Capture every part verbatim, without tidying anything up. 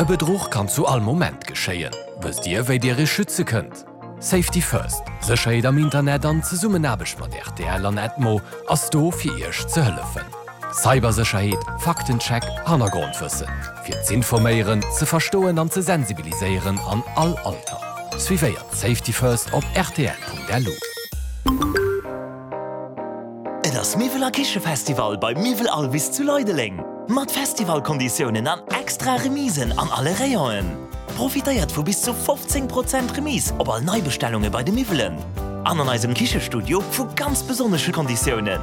E Bedruch kann zu all Moment geschéien. Wësst Dir, wéi Dir Iech schütze kënnt? Safety First, Sécherheet am Internet an Zesummenaarbecht mat R T L an Edmo ass do fir Iech ze hëllefen. Cybersécherheet, Faktencheck, Hannergrondwëssen. Fir z'informéieren, ze verstoen an ze sensibiliséieren an all Alter. Suivéiert Safety First op R T L Punkt L U. Et ass Miwwel a Kichefestival bei Miwwel Alvis zu Leideleng. Mat Festivalkonditiounen an extra Remisen an alle Rayonen. Profitéiert vu bis zu fofzéng Prozent Remise op all Neibestellunge bei de Miwwelen. An an eisem Kichestudio vu ganz besonnesche Konditiounen.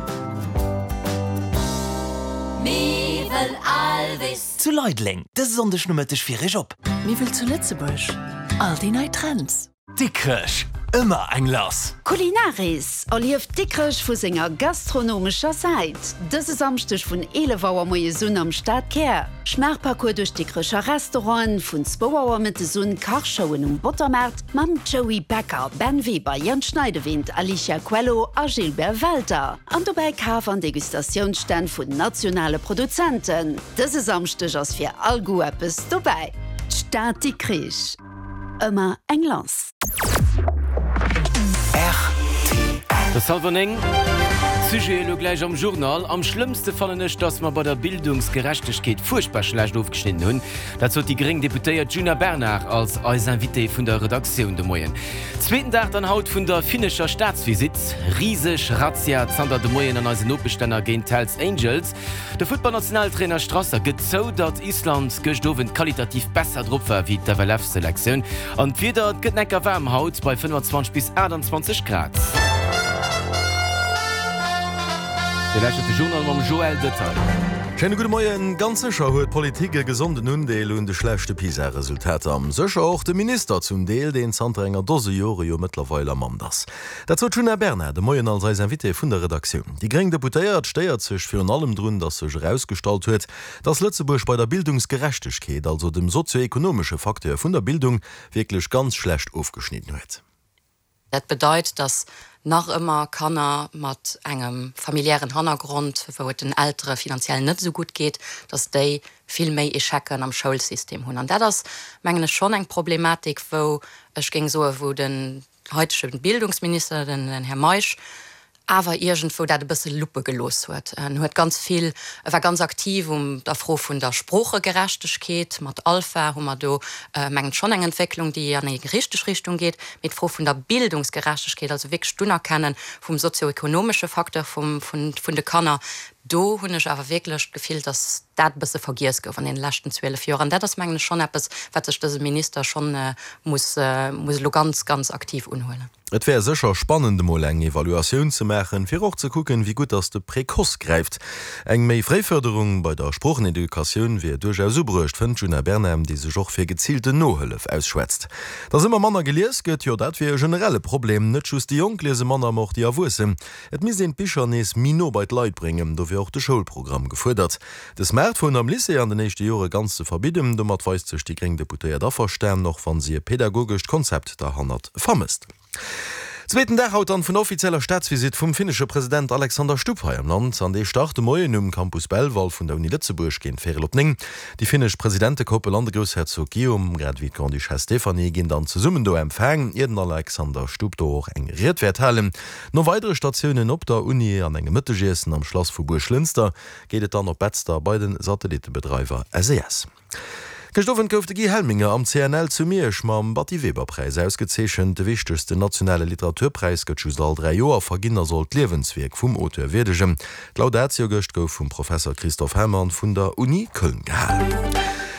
Miwwel Alvis. Zu Leideleng, dëse Sonndeg Nomëtteg fir iech op. Miwwel zu Lëtzebuerg. All déi nei Trends. Dikrech, ëmmer eng lass. Kulinaris erlieft Dikrech vu senger gastronomescher Säit. Dëse Samschdeg vun eelef Auer moies un am Stadkär. Schmaachparcours duerch d'Dikrecher Restauranten, vun zwou Auer mëttes un Kachshowen um Bottermaart mam Joey Becker, Ben Weber, Jan Schneidewind, Alicia Coelho a Gilbert Welter. An dobäi Kaf an Degustatiounsstänn vun nationale Produzenten. Dëse Samschdeg ass fir all Goût eppes dobäi. D'Stad Dikrech. Ëmmer eng lass. De Salvonéng Sujet elo gläich am Journal. Am schlëmmste fannen ech, datt mer bei der Bildungsgerechtegkeet fuerchtbar schlecht ofgeschnidden hunn. Dat sot déi gréng Deputéiert Djuna Bernard als eis Invitée vun der Redaktioun de Moien. Zweeten Dag dann haut vun der finnescher Staatsvisitt. Riseg Razzia zanter de Moien an eisen Nopeschlänner géint d'Hells Angels. De Futtballnationaltrainer Strasser gëtt zou, datt Island gëscht Owend qualitativ besser drop war wéi d'F L F-Selektioun. An d'Wieder, et gëtt necker waarm haut bei fënnefenzwanzeg bis aachtanzwanzeg Grad. Dir lauschtert de Journal mam Joël Detail. Schéine gudde Moien. Ganz sécher huet d'Politik e gesonden Undeel un de schlechte PISA-Resultater. Sécher och de Minister zum Deel, deen zanter enger Dose Jore jo mëttlerweil am Amt ass. Dat sot d'Djuna Bernard de Moien als eis Invitée vun der Redaktioun. Déi gréng Deputéiert stéiert sech virun allem drun, datt sech erausgestallt huet, datt Lëtzebuerg bei der Bildungsgerechtegkeet, also dem sozioekonomesche Facteur vun der Bildung, wierklech ganz schlecht ofgeschnidden huet. Dat bedeit, dass nach ëmmer Kanner mat engem familiären Hannergrond, wou et den Eltere finanziell net sou gutt geet, dass déi vill méi Echecen am Schoulsystem hunn. An dat ass mengen ech schonn eng Problematik, wou ech géing soen, wou den haitege Bildungsminister, den, den Här Meisch, awer iergendwou dat e bësse luppe gelooss huet. En huet ganz vill, e war ganz aktiv um der Fro vun der Sproochegerechtegkeet, mat Alpha hu mer do äh, mengen schonn eng Entwécklung, déi an eng richteg Richtung geet, mee d'Fro vun der Bildungsgerechtegkeet, also wierklech d'Unerkenne vum sozioekonomesche Facteur vum, vun, vun de Kanner, do hunn ech awer wierklech d'Gefill, dass dat bësse vergiess gouf an den leschten zwielef Joren. Dat ass mengen ech schonn eppes, wat sech dëse Minister schonn äh, muss, äh, muss lo ganz, ganz aktiv unhuelen. Et wär sécher spannend emol eng Evaluatioun ze maachen, fir och ze kucken, wéi gutt dass de Précoce gräift. Eng méi fréi Fërderung bei der Sproocheneducatioun wier duerchaus ubruecht, fënnt d'Djuna Bernard, déi sech och fir geziilten Nohëllef ausschwätzt. Dass ëmmer manner gelies gëtt, jo dat wier e generelle Problem, net just déi Jonk liese manner, ma och déi Erwuessen. Et misst een d'Bicher nees méi no bei d'Leit bréngen, do wier och de Schoulprogramm gefuerdert. De Smartphone am Lycée an den éischte Jore ganz ze verbidden, domat weist sech déi gréng Deputéiert averstanen, och wann si e pädagogescht Konzept derhannert vermësst. Zweeten Dag haut dann vun der offizieller Staatsvisitt vum finnesche President Alexander Stubb hei am Land. An dee start de Moien um Campus Belval vun der Uni Lëtzebuerg géint véierel op néng. Déi finnesch Presidentekoppel an de Groussherzog Guillaume, grad ewéi d'Grande-Duchesse Stéphanie ginn dann zesummen do empfaang, ier den Alexander Stubb do och eng Ried wäert halen. No weidere Statiounen op der Uni an engem Mëttegiessen am Schlass vu Buerglënster geet et dann op Betzder bei de Satellitebedreiwer S E S. Gëscht Owend gouf de Guy Helminger am C N L zu Miersch mam Batty-Weber-Präis ausgezeechent. De wichtegsten nationale Literaturpräis gëtt just all dräi Joer verginn a soll d'Liewenswierk vum Auteur wierdegen. D'Laudatio gëscht gouf vum Professer Christoph Herrmann vun der Uni Köln gehalen.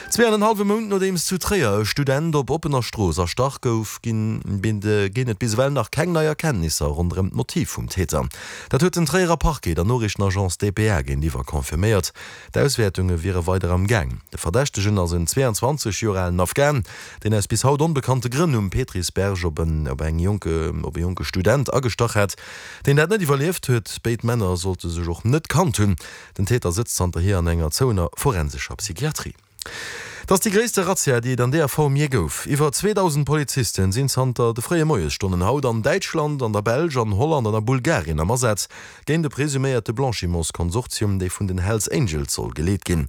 Zwee an en hallwe Mount nodeems zu Tréier e Student op oppener Strooss erstach gouf, ginn ginn et bis ewell nach keng nei Erkenntnisser ronderëm d'Motiv vum Täter. Dat huet den Tréierer Parquet der Noriichtenagence D P A géintiwwer confirméiert. D'Auswäertunge wiere weider am Gaang. De Verdächtegen ass en zweeanzwanzeg Joer alen Afghan, deen aus bis haut onbekannte Grënn um Petrisberg op en op eng jonke op e jonke Student agestach hat, deen dat net iwwerlieft huet. Béid Männer sollte sech och net kannt hunn. Den Täter sëtzt zanterhier an enger zouener forensescher Psychiatrie. Dat ass déi gréisste Razzia, déi et an där Form jee gouf. Iwwer zweedausend Polizisten sinn zanter de fréie Moiesstonnen haut an Däitschland, an der Belsch, an Holland an a Bulgarien am Asaz géint de presuméierte Blanchimentskonsortium, dee vun den Hells Angels soll geleet ginn.